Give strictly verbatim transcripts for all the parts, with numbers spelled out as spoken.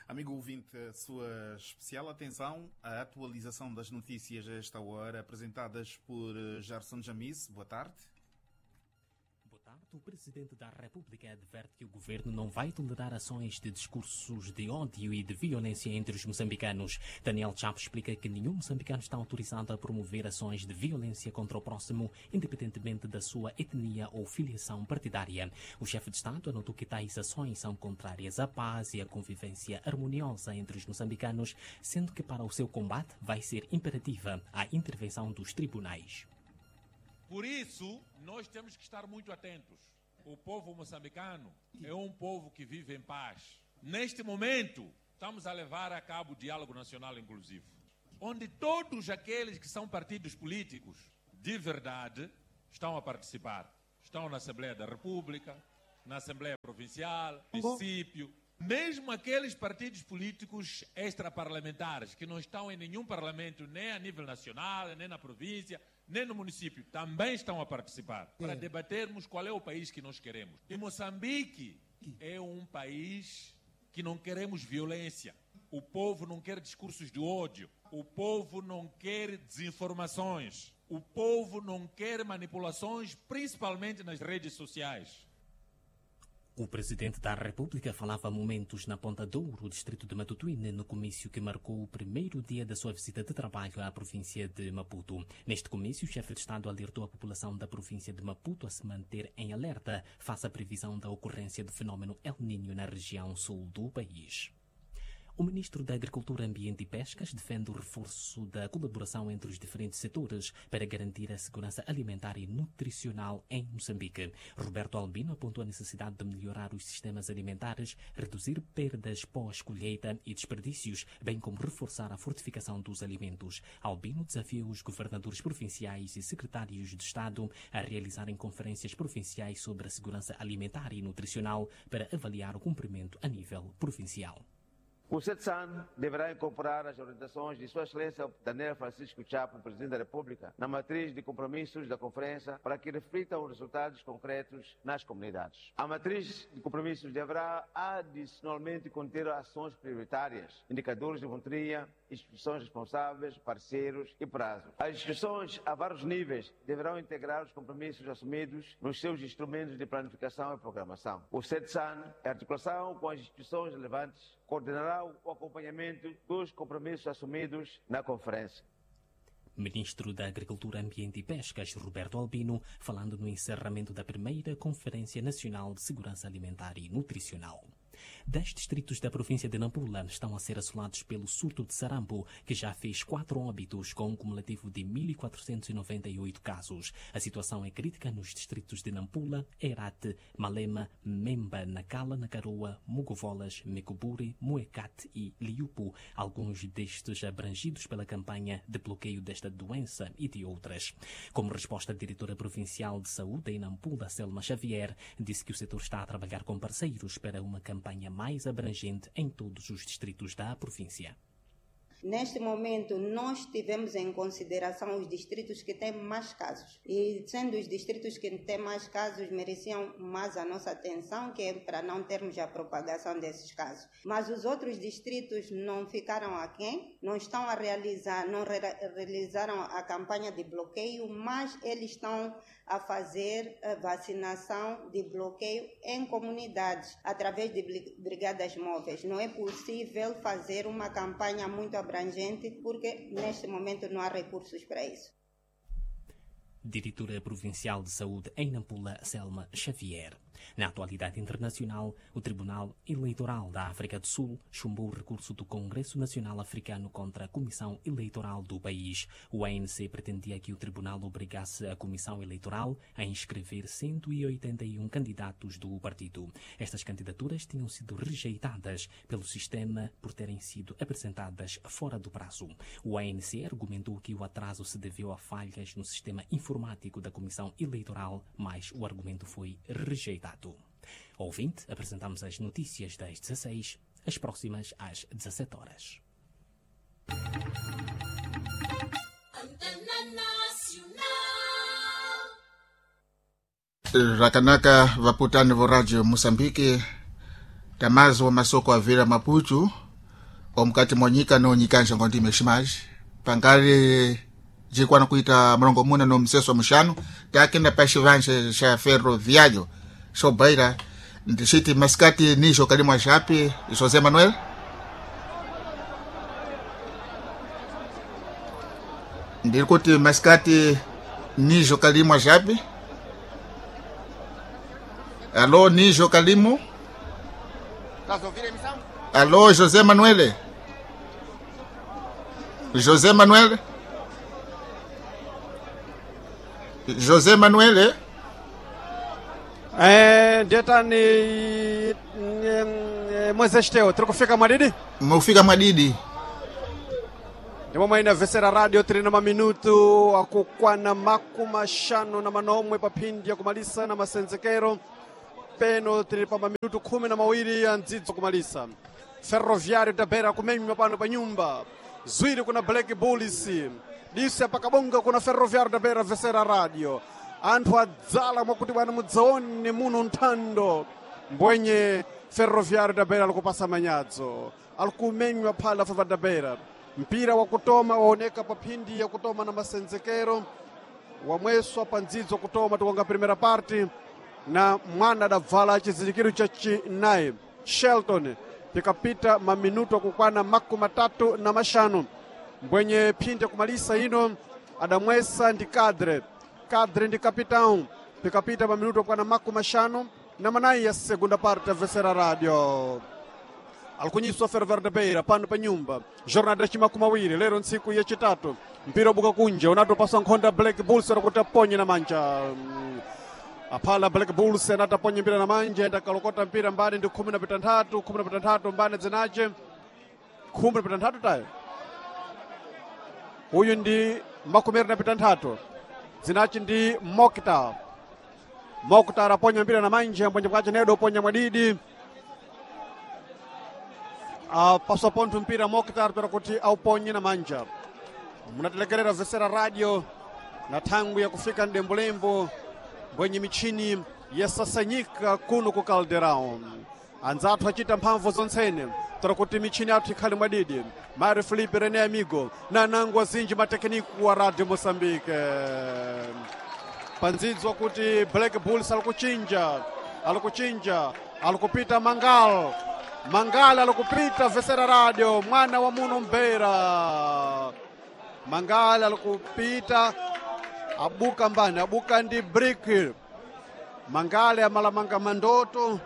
Amigo ouvinte, a sua especial atenção à atualização das notícias a esta hora, apresentadas por Jarson Jamis. Boa tarde. Boa tarde. O Presidente da República adverte que o governo não vai tolerar ações de discursos de ódio e de violência entre os moçambicanos. Daniel Chapo explica que nenhum moçambicano está autorizado a promover ações de violência contra o próximo, independentemente da sua etnia ou filiação partidária. O chefe de Estado anotou que tais ações são contrárias à paz e à convivência harmoniosa entre os moçambicanos, sendo que para o seu combate vai ser imperativa a intervenção dos tribunais. Por isso, nós temos que estar muito atentos. O povo moçambicano é um povo que vive em paz. Neste momento, estamos a levar a cabo o diálogo nacional inclusivo, onde todos aqueles que são partidos políticos de verdade estão a participar. Estão na Assembleia da República, na Assembleia Provincial, município. Mesmo aqueles partidos políticos extraparlamentares que não estão em nenhum parlamento, nem a nível nacional, nem na província, nem no município, também estão a participar para debatermos qual é o país que nós queremos. E Moçambique é um país que não queremos violência. O povo não quer discursos de ódio. O povo não quer desinformações. O povo não quer manipulações, principalmente nas redes sociais. O Presidente da República falava há momentos na Ponta Douro, distrito de Matutuine, no comício que marcou o primeiro dia da sua visita de trabalho à província de Maputo. Neste comício, o chefe de Estado alertou a população da província de Maputo a se manter em alerta face à previsão da ocorrência do fenômeno El Niño na região sul do país. O ministro da Agricultura, Ambiente e Pescas defende o reforço da colaboração entre os diferentes setores para garantir a segurança alimentar e nutricional em Moçambique. Roberto Albino apontou a necessidade de melhorar os sistemas alimentares, reduzir perdas pós-colheita e desperdícios, bem como reforçar a fortificação dos alimentos. Albino desafiou os governadores provinciais e secretários de Estado a realizarem conferências provinciais sobre a segurança alimentar e nutricional para avaliar o cumprimento a nível provincial. O SETSAN deverá incorporar as orientações de Sua Excelência Daniel Francisco Chapo, Presidente da República, na matriz de compromissos da Conferência para que reflitam os resultados concretos nas comunidades. A matriz de compromissos deverá adicionalmente conter ações prioritárias, indicadores de monitoria, instituições responsáveis, parceiros e prazos. As instituições a vários níveis deverão integrar os compromissos assumidos nos seus instrumentos de planificação e programação. O SETSAN, em articulação com as instituições relevantes, coordenará o acompanhamento dos compromissos assumidos na conferência. Ministro da Agricultura, Ambiente e Pescas, Roberto Albino, falando no encerramento da primeira Conferência Nacional de Segurança Alimentar e Nutricional. Dez distritos da província de Nampula estão a ser assolados pelo surto de sarampo, que já fez quatro óbitos, com um cumulativo de mil quatrocentos e noventa e oito casos. A situação é crítica nos distritos de Nampula, Erate, Malema, Memba, Nacala, Nacaroa, Mugovolas, Mecuburi, Muecate e Liupo, alguns destes abrangidos pela campanha de bloqueio desta doença e de outras. Como resposta, a diretora provincial de saúde em Nampula, Selma Xavier, disse que o setor está a trabalhar com parceiros para uma campanha mais abrangente em todos os distritos da província. Neste momento, nós tivemos em consideração os distritos que têm mais casos. E sendo os distritos que têm mais casos, mereciam mais a nossa atenção, que é para não termos a propagação desses casos. Mas os outros distritos não ficaram aquém, não estão a realizar, não re- realizaram a campanha de bloqueio, mas eles estão a fazer a vacinação de bloqueio em comunidades, através de brigadas móveis. Não é possível fazer uma campanha muito abrangente, porque neste momento não há recursos para isso. Diretora Provincial de Saúde em Nampula, Selma Xavier. Na atualidade internacional, o Tribunal Eleitoral da África do Sul chumbou o recurso do Congresso Nacional Africano contra a Comissão Eleitoral do país. O A N C pretendia que o tribunal obrigasse a Comissão Eleitoral a inscrever cento e oitenta e um candidatos do partido. Estas candidaturas tinham sido rejeitadas pelo sistema por terem sido apresentadas fora do prazo. O A N C argumentou que o atraso se deveu a falhas no sistema informático da Comissão Eleitoral, mas o argumento foi rejeitado. Ouvinte, apresentamos as notícias das dezasseis, as próximas às dezassete horas. Rakanaka vaputani vo Radio Moçambique, tamazi wa masoko avira Maputo, Omukati mwanyika nonyikanja ngondime shimaji pangali jikwana kuita mlongo muna no mseso muxanu takenda pa xivanje xa ferroviário xobeira ndixiti masikati nijo kalimwa xapi José Manuel. Ndiri kuti masikati nijo kalimwa xapi. Alô, nijo kalimo. Alô, José Manuel. José Manuel. José Manuel. Eh, ndetani mwezi teo tiri kufika mwadidi Mufika mwadidi. ndimo mwaina vesera radio tiri na maminutu akukwana makumashanu na manomwe paphindi ya kumalisa na masenzekero peno tiri pa maminutu khumi na mawiri ya ndzidzo kumalisa. Ferroviário da Beira kumenywa pano pa nyumba zwiri kuna Black Bulls disi apakabonga kuna Ferroviário da Beira vesera radio anthu adzala mwakuti bwana mudzaone muno nthando mbwenye Ferroviário da Beira alikupasa manyadzo alikumenywa phala Ferroviário da Beira. Mpira wa kutoma waoneka pa phindi ya kutoma na masenzekero wamweswa pa ndzidzo kutoma tikonga primera parte na mwana adabvala chizindikiro cha chinayi Shelton pikapita maminuto akukwana makumi matatu na maxanu mbwenye phindi yakumalisa ino adamwesa ndi kadre kadre ndi capitão pikapita maminuto akukwana makumi maxanu na manayi ya segunda parte ya vesera radio alikunyiswa Ferroviário da Beira pano pa nyumba jornada ya chimakumi awiri lero ntsiku yachitatu mpira ubuka kunja unatopaswa nkhonda Black Bulls kuti aponye na manja. Aphala Black Bulls anataponya mpira na manja endakalokota mpira mbani ndi khumi na pitanthatu khumi na pitanthatu mbani dzinace khumi na pitanthatu tayo uyu ndi makumi na pitanthatu dzinaci ndi Mokta. Mokta araponya mpira na manja mbwenje bwace nedo uponya mwadidi apaswa pontho mpira Moktar pera kuti auponye na manja. Munatelekerera vesera radio na thangwi ya kufika ndembulembo mbwenye michini yasasanyika kuno ku Caldeirão. Anzathu achita mphamvu zontsene tora kuti michini yathu ikhale mwadidi. Mário Felipe René Amigo na nangu azinji matekniko wa Radio Moçambique pandzidzwa kuti Black Bulls alikuchinja alikuchinja alikupita Mangal Mangala alikupita vesera radio mwana wa muno Mbeira. Mangala alikupita abuka mbani abuka ndi brick. Mangala amalamanga mandoto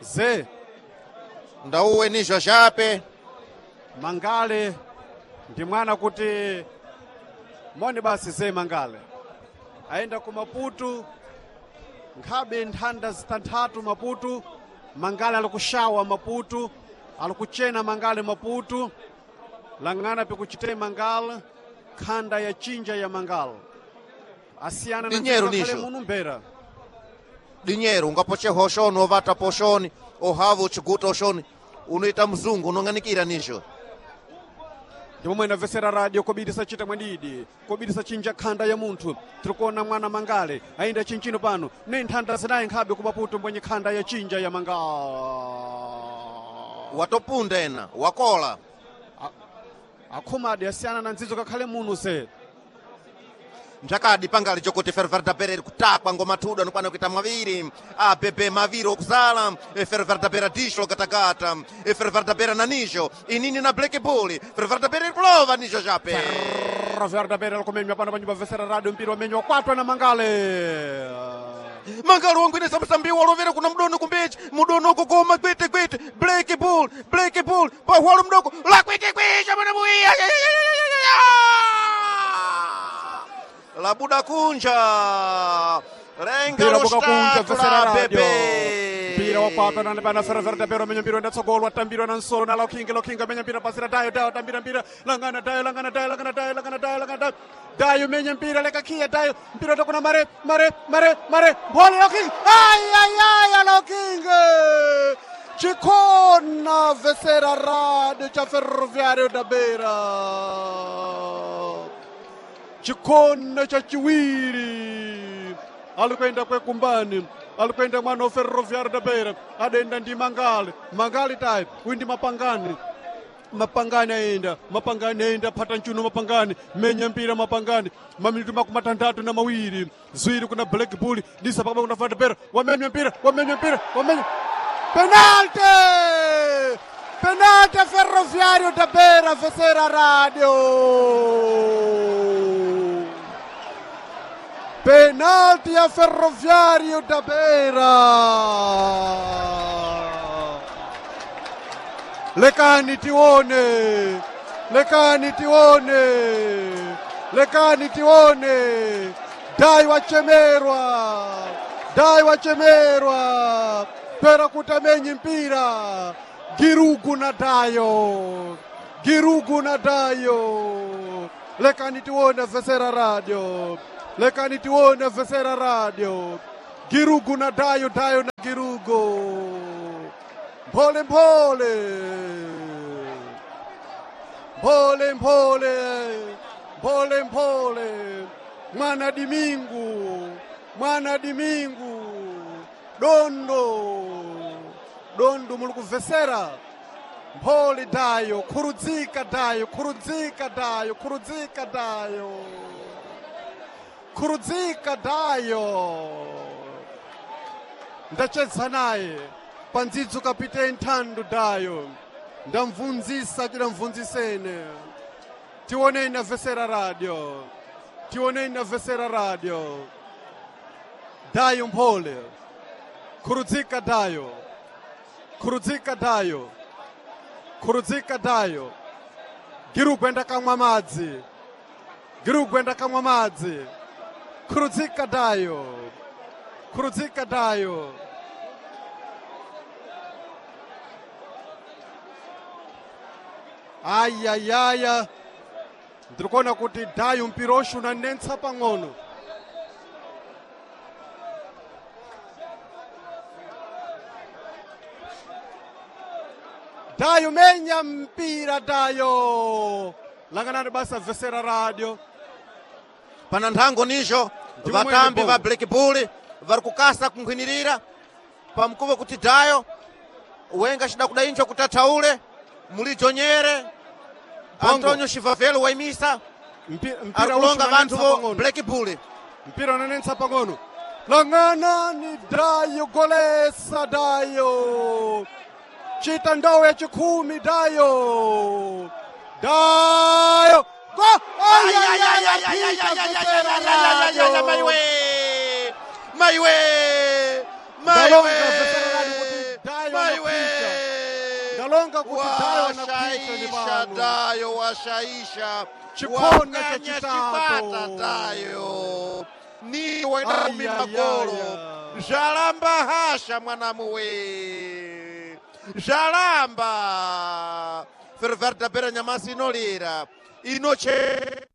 ze ndauwe nijo xape Mangale ndi mwana kuti moni basi ze Mangale aenda ku Maputo nkhabe nthanda zitanthatu Maputo. Mangale alikushawa Maputo alikuchena Mangale Maputo lang'ana pikuchite Mangale khanda ya chinja ya Mangale asiyana na Dinheiro nzikakhale nicho. muno Mbeira. Dinheiro ungapocheha oxoni ovata poxoni ohava uchiguta oxoni unoita mzungu unong'anikira nijo ndipo mwene vesera radio kobirisa chita mwadidi kobirisa chinja khanda ya munthu tirikuona mwana Mangale ayenda chinchino pano ne nthanda zinayi nkhabe ku Maputo mbwenye khanda ya chinja ya Mangale watopunda ena wakola akhumadi asiyana na ndzidzo kakhale muno se mphakadi pangali chokuti Ferroviário da Beira iri kutakwa ngoma thudu anokwana kuita maviri abebe maviri okuzala e Ferroviário da Beira dixo lokatakata e Ferroviário da Beira na nijo inini na Black Bull Ferroviário da Beira iri kulova nijo xape Ferroviário da Beira alikumenywa pano panyumba vesera radio mpira wamenywa kwatwa na Mangale Mangalo wangwinisa msambi walovera kuna mdono kumbechi mudono ukukoma gwete gwete Black Bull Black Bull pahwalo mdoko la kwete kwete mwana muiya labuda kunja renga mpira buka kunja lostatu vesera la radio bebe mpira wakwatwa na bana Ferroviário da Beira menya mpira ndatsogolwa atambirwa na nsolo na Lokinga Lokinga menya mpira pasira Dayo Dayo tambira mpira langana Dayo langana Dayo langana Dayo langana Dayo langana Dayo Dayo menya mpira leka kia Dayo mpira utakuna mare mare mare mare bola Lokinga ay ay ay Lokinga chikona vesera radio cha Ferroviário da Beira chikona cha chiwiri Alikwenda kwekumbani, alikwenda mwana wa Ferroviário da Beira, adenda ndi Mangali, Mangali tayi, uyu ndi Mapangani. Mapangani aenda, Mapangani aenda, phata nchuno Mapangani, menya mpira Mapangani, maminutu makumi matandatu na mawiri, ziwiri kuna Black Bull, disa pakaba kuna Ferroviário da Beira, wamenya mpira, wamenya mpira, wamenya penalty! Penalty Ferroviário da Beira, vencer a rádio! Penalti a Ferroviário da Beira! Lekani tione, lekani tione, lekani tione. Dai wachemerwa, dai wachemerwa, pera kutamenyi mpira. Girugu na Dayo, Girugu na Dayo. Lekani tione vesera radio, lekani tione vesera radio. Girugu na Dayo, Dayo na Girugu. Mpole mpole, mpole mpole, mpole mpole, mwana Dimingu, mwana Dimingu, dondo dondo muli kuvesera mphole dayo, khurudzika dayo, khurudzika dayo, khurudzika dayo, khurudzika dayo. Ndacheza naye pandzidzo kapiteni Thando Dayo, ndamvunzisa tidamvunzisene, tioneni na vesera radio, tioneni na vesera radio. Dayo mphole, khurudzika dayo, khurudzika dayo, khurudzika dayo. Girugwenda kamwa madzi, girugwenda kamwa madzi, khurudzika dayo, khurudzika dayo. Ayayaya, ndiri kuona kuti Dayo mpira unanetsa pang'ono. Dayo menya mpira Dayo, langanani basa vesera radio. Pana nthango nijo Ndimwe vatambi mwene va Black Bull vari kukasa kunkhwinirira pamkuvo kuti Dayo wenga cida kudainjo kuti athaule mulijo nyere. Bongo. Antonio Chivavelo waimisa Mpi- ari mpira kulonga vanthu unanetsa vo pang'ono. Black Bull. Mpira unanetsa pang'ono. Langanani Dayo, golesa Dayo, chita ndawo ya chikhumi Dayo, Dayo go! Ay, ay, ay, ay, ay, ay, ay, ay, ay, ay, ay, Maiwe maiwe Ndalonga maiwe vesera radio kuti Dayo maiwe Ndalonga kuti Dayo anapita ni washaisha pano. Dayo washaisha Chikona Wakanya chachitatu. chipata Dayo niwe ndakumi Ay, ay, magolo ay, ay. zvalamba hasha mwanamuwe zvalamba Ferroviário da Beira nyamasi inolira inoche